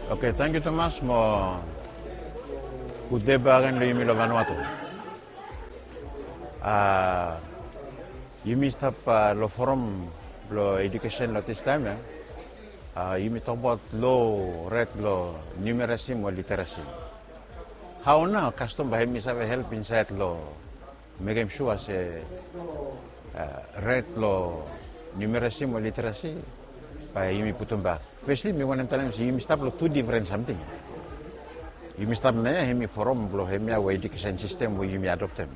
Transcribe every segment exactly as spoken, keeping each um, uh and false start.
Oke, tangkiu tumas mo gud dei bakegen long yumi long Vanuatu. A, yumi stap, a, long forum blong edukesen long distaem ya. A, yumi tokbaot lo ret long numerasi mo literasi. Hao nao kastom bae hemi save help insaed long mekem sua se, a, ret long numerasi mo literasi bae yumi putum bak. Fesli mi wantem talem se yumi stap long tu difren samting. Yumi stap nao ya, hemi forum blong hemia we edukesen sistem we yumi adoptem.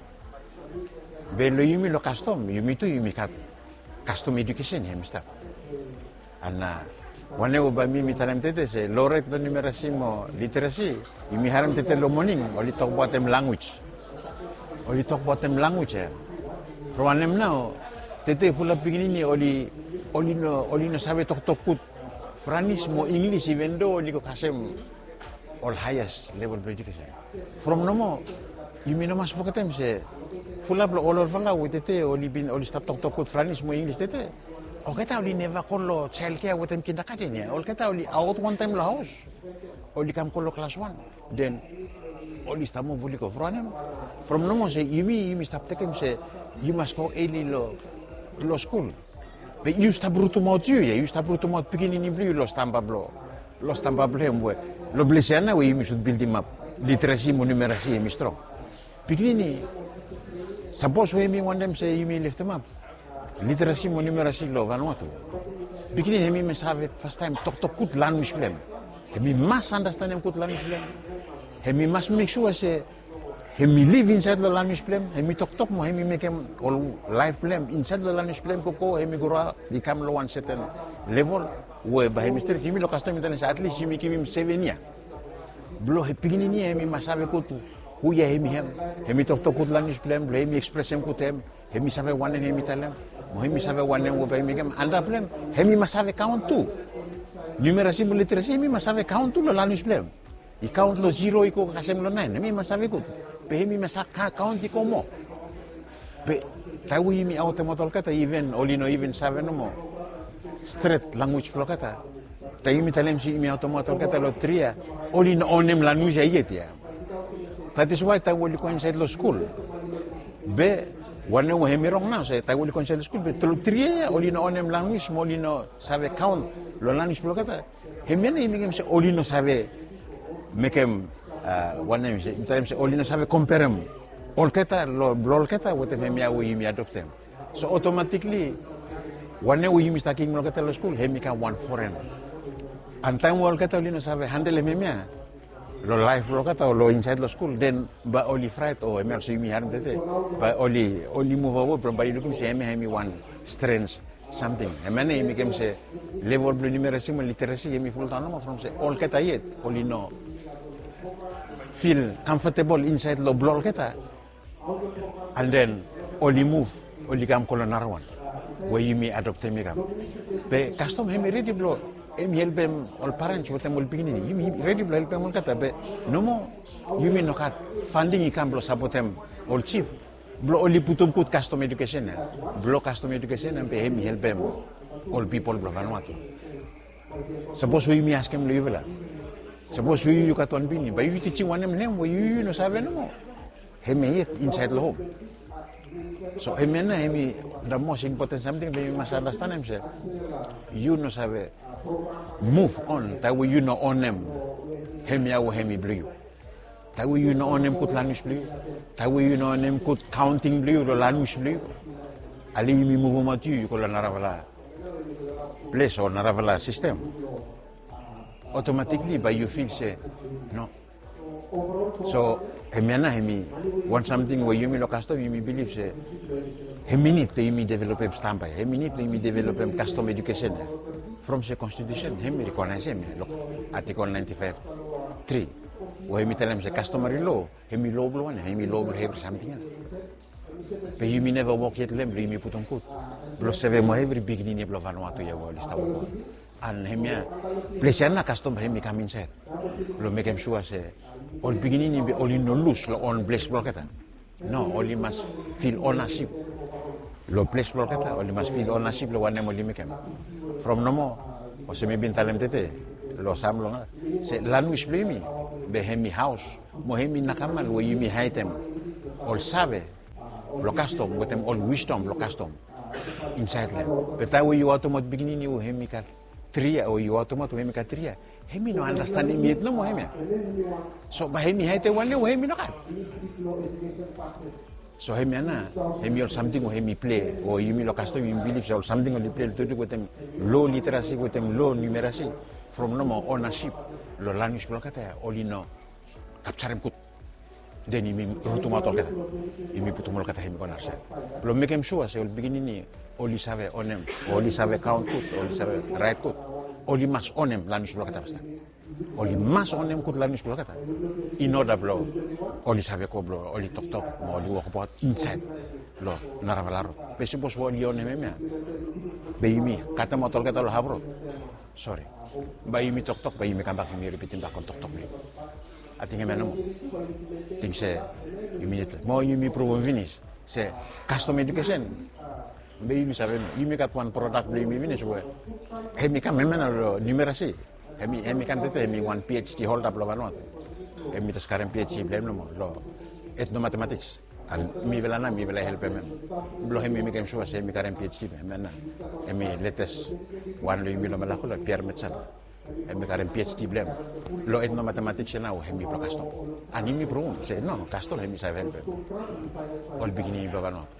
Be long yumi long kastom, yumi tu yumi gat kastom edukesen hemi stap. Ana wanem we bae mi mi talem tede se lo ret long numerasi mo literasi, yumi harem tede long moning oli tokbaotem lanwis. Oli tokbaotem lanwis ya. From wanem nao tede fulap pikinini oli, oli no, oli no save toktok gud Franis mo Inglis, iven do oli go kasem ol haeas level blong edukesen. From nomo yumi no mas fogetem se fulap long ol olfala we tede oli bin, oli stap toktok gud Franis mo Inglis tede, olgeta oli neva go long jael kea wetem kindagaden ya. Olgeta oli aot wantaem long haos, oli kam go long klas wan, den oli stap muv oli go. From wanem? From nomo se yumi, yumi stap tekem se yu mas go eli long, long skul. Be yu stap rutumaot yu ya, yu stap rutumaot pikinini blong yu long stamba blong, long stamba blong hem we long ples ya nao we yumi sud bildimap literasi mo numerasi hemi strong. Pikinini, sapos we yumi wantem se yumi leftemap literasi mo numerasi long Vanuatu, pikinini hemi mas save fastaem toktok gud lanwis blong hem. Hemi mas andastanem gud lanwis blong hem. Hemi mas mek sua se hemi liv insaed long lanwis blong hem, hemi toktok mo hemi mekem ol laef blong hem insaed long lanwis blong hem, gogo hemi groa i kam long wan seten level we bae hemi stret. Yumi long kastom mi talem se atlis yumi givim seven yia blong pikinini ya hemi mas save gud hu ya hemi hem, hemi toktok gud lanwis blong hem, blong hemi ekspresem gud hem, hemi save wanem hemi talem, mo hemi save wanem we bae hemi mekem. Antap blong hem hemi mas save kaon tu. Numerasi mo literasi hemi mas save kaon tu long lanwis blong hem. I kaon long ziro i go kasem long naen, hemi mas save gud. Be hemi mas save kaon i go moa. Be taem we yumi aotemaot olgeta, iven oli no iven save nomo stret lanwis blong olgeta, taem yumi talem se yumi aotemaot olgeta long tri yia, oli no onem lanwis ya yet ya. That is why taem we oli go insaed long skul, be wanem we hemi rong nao se taem we oli go insaed long skul be long tri yia ya oli no onem lanwis mo oli no save kaon long lanwis blong olgeta. Hemia nao i mekem se oli no save mekem, a, wanem se, mi talem se oli no save komperem olgeta long, blong olgeta wetem hemia we yumi adoptem. So otomatikli wanem we yumi stap givim olgeta long skul hemi kam wan foren. An taem we olgeta oli no save handelem hemia long laef blong olgeta o long insaed long skul, den bae oli fraet o hemia olsem yumi harem tede, bae oli, oli muv awe from bae i lukim se hemia hemi wan strens samting. Hemia nao i mekem se level blong numerasi mo literasi hemi fuldaon nomo from se olgeta yet oli no fil kamfatebol insaed long blong olgeta. An den oli muv, oli kam go long narawan we yumi adoptem i kam. Be kastom hemi redi blong hemi helpem ol parens wetem ol pikinini. Yumi redi blong helpem olgeta, be nomo yumi no gat fanding i kam blong sapotem ol jif blong oli putum gud kastom edukesen ya. Blong kastom edukesen ya be hemi helpem ol pipol blong Vanuatu. Sapos we yumi askem long yufala, sapos we yu, yu gat wan pikinini, bae yu tijim wanem long hem we yu, yu no save nomo, hemia yet insaed long hom. So hemia nao hemi the most important samting bae yumi mas andastanem se yu no save muv on taem we yu no onem hemia we hemi blong yu. Taem we yu no onem gud lanwis blong yu, taem we yu no onem gud kaonting blong yu long lanwis blong yu, ale yumi muvumaot yu, yu go long narafala ples o narafala sistem, otomatikli bae yu fil se no. So hemia nao hemi wan samting we yumi long kastom yumi bilif se hemi nid blong yumi developem stamba ya, hemi nid blong yumi developem kastom edukesen ya. From se konstitusen hemi rekonaesem ya long atikol naenti faef tri, we hemi talem se kastomari lo hemi lo blong wanem, hemi lo blong evri samting ya. Be yumi neva wok yet long hem blong yumi putum gud blong sevem evri pikinini blong Vanuatu ya we oli stap wok. An hemia ples ya nao kastom hemi kam insaed blong mekem sua se ol pikinini be oli no lus long on ples blong olgeta. No, oli mas fil onasip long ples blong olgeta, oli mas fil onasip long wanem oli mekem. From nomo, olsem mi bin talem tede, lo Sam long as se lanwis blong yumi be hemi haos mo hemi nakamal we yumi haedem ol save blong kastom wetem ol wisdom blong kastom insaed long hem. Be taem we yu autumaot pikinini we hemi gat tri yia o yu autumaot we hemi gat tri yia, hemi no anastandim yet nomo hemia. So bae hemi haedem wan yia we hemi no gat. So hemia nao hemi ol samting we hemi pilei o yumi long kastom yumi bilif se ol samting oli pilei long tutuk wetem lo literasi wetem lo numerasi from nomo onasip long lanwis blong olgeta ya oli no kapjarem gud. Den yumi rutumaot olgeta, yumi putum olgeta hemi go narasaed blong mekem sua se ol pikinini oli save onem o oli save kaon gud o oli save raet gud. Oli mas onem lanwis blong olgeta fastaem. Oli mas onem gud lanwis blong olgeta in oda blong oli save go blong oli toktok mo oli wokbaot insaed long narafala rod. Be sapos we oli onem hemia be yumi katemaot olgeta long hafrod. Sori, bae yumi toktok bae yumi kambak yumi ripitim bak ol toktok blong yumi. Ating hemia nomo ting se yumi nid mo yumi pruvum finis se kastom edukesen be yumi save no yumi gat wan prodak blong yumi finis we hemi kam hemia nao long numerasi. Hemi kam tete hemi wan phd holda blong Vanuatu. Hemi jes karem phd blong hem nomo long etnomatematiks. An mifala nao mifala i helpem hem blong hemi mekem sua se hemi karem phd blong hem nao. Hemi letes wan long yumi long Malakula, Pierre Metsan. Hemi karem phd blong hem long etnomatematiks ya nao hemi blong kastom. An yumi pruvum se no, kastom hemi save helpem ol pikinini blong Vanuatu.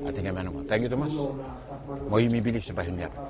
Ating hemia nomo. Tangkiu tumas. Mo yumi bilif se bae hemi hapem.